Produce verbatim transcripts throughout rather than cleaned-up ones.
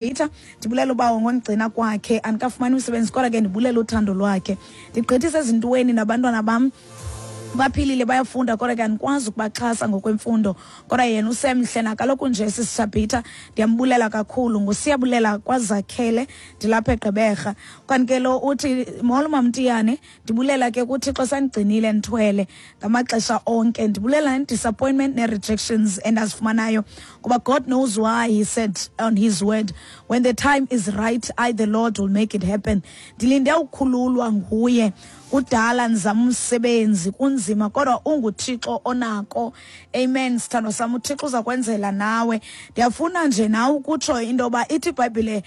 Peter, ndibulela ubawo ngondigcina kwakhe. Andikafumani umsebenzi, kodwa ke ndibulela uthando lwakhe. Ndigqithisa ezintweni nabantwana bam baphilile, bayafunda, kodwa ke andikwazi ukubaxhasa ngokwemfundo, kodwa yena usemhle nakaloku nje. Sisishabhitha, ndiyambulela kakhulu. Ngusiyabulela kwaZakhele, ndilapha eGqeberha. Kanti ke lo uthi, molo Mamtiyane, ndibulela ke kuThixo sandigcinile ndithwele ngamaxesha onke. Ndibulela ne-disappointment nee-rejections endazifumanayo, kuba God knows why. He said on his word, "When the time is right, I the Lord will make it happen." Ndilinde ukukhululwa nguye. Kudala ndizama umsebenzi, kunzima, kodwa unguThixo onako. Amen, sithandwa sam, uThixo uza kwenzela nawe. Ndiyafuna nje nawe ukutsho into yoba ithi iBhayibhile,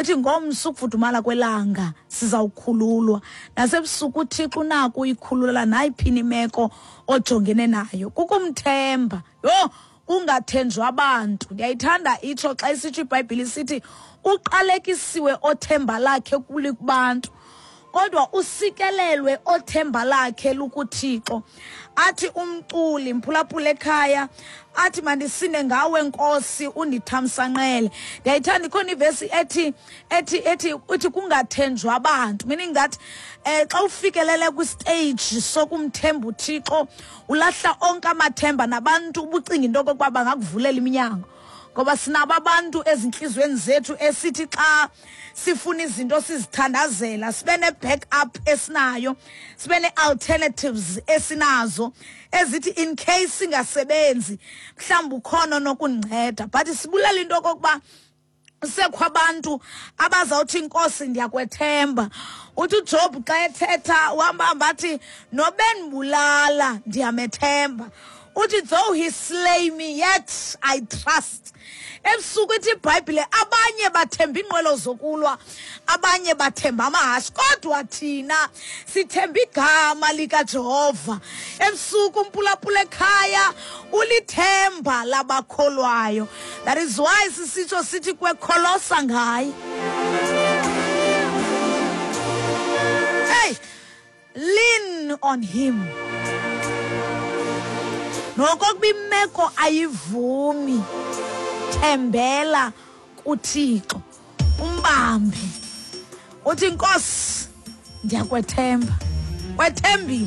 ithi ngomso ukufudumala kwelanga sizawukhululwa. Nasebusuku uThixo unako uyikhulula nayiphini imeko ojongene nayo. Kukumthemba. Yho, kungathenjwa abantu. Ndiyayithanda itsho xa isitsho iBhayibhile, isithi uqalekisiwe othemba lakhe kubantu, kodwa usikelelwe othemba lakhe lukuThixo. Athi umculi, mphulaphula ekhaya, athi mandisinde ngawe Nkosi, undithamsanqele. Ndiyayithanda, ikhona ivesi ethi ethi ethi uthi kungathenjwa abantu, meaning that eh xa ufikelele kwistage sokumthemba uThixo, ulahla onke amathemba nabantu ubucinga into okokuba bangakuvulela iminyango, ngoba sinabo abantu ezintliziyweni zethu esithi xa sifuna izinto sizithandazela, sibe ne-backup esinayo, sibe ne-alternatives esinazo ezithi in case singasebenzi, mhlawumbi ukhona nokundinceda. But sibulela into okokuba sekho abantu abazawuthi, "Inkosi, ndiyakwethemba." Uthi uJob xa ethetha, uhamba hamba athi, "Nobendibulala, ndiyamethemba." Uthi, "Though he slay me, yet I trust." Ebusuku ithi iBhayibhile, abanye bathemba iinqwelo zokulwa, abanye bathemba amahashe, kodwa thina sithemba igama likaJehova. Ebusuku umpulapula ekhaya ulithemba labakholwayo. That is why sisitsho sithi kwekholosa ngaye. Hey, lean on him. Nokokuba imeko ayivumi, thembela kuThixo, umbambe, uthi, "Nkosi, ndiyakwethemba." Kwethembile.